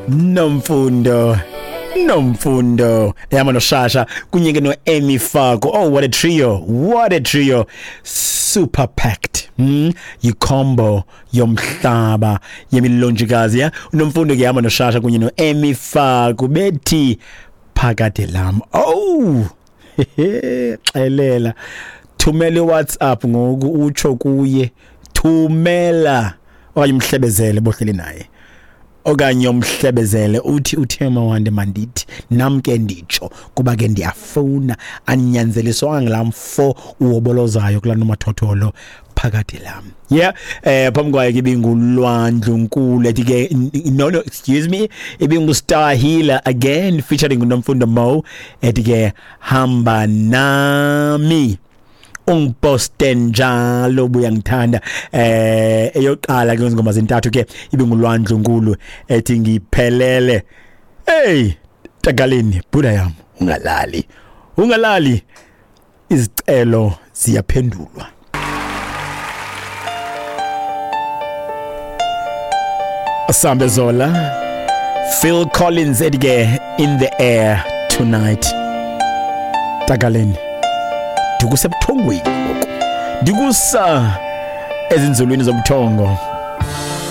Nomfundo, Nomfundo ehamba noShasha kunye ke no-Emi Faku. Oh, what a trio, what a trio, super packed. Yi-combo yomhlaba yemilonjikazi ya uNomfundo ke ehamba noShasha kunye no-Emi Faku bethi phakade lam. Oh, xelela, thumela iWhatsApp ngoku utsho kuye, thumela okanye umhlebezele bohleli naye, okanye umhlebezele uthi uthe mawande mandithi nam ke nditsho kuba ke ndiyafuna, andinyanzeliswanga ngulaa mfo uwobolozayo kulaa nomathotholo phakade lam. Yeah, phambi kwayo ke ibingulwandlu nkulu ethi ke no no excuse me, ibingu-Star Healer again featuring uNomfundo Mo ethi ke hamba nami ungiposte njalo buya ngithanda. Eyoqala ke ngoma zintathu ke ibingulwandlu nkulu ethi ngiphelele. Hey Tagaleni, buda yam, ungalali, ungalali, izicelo ziyaphendulwa. Asambe Zola, Phil Collins ethi ke In the Air Tonight. Tagaleni, ndikusebuthongweni ngoku, ndikusa ezinzulwini zobuthongo.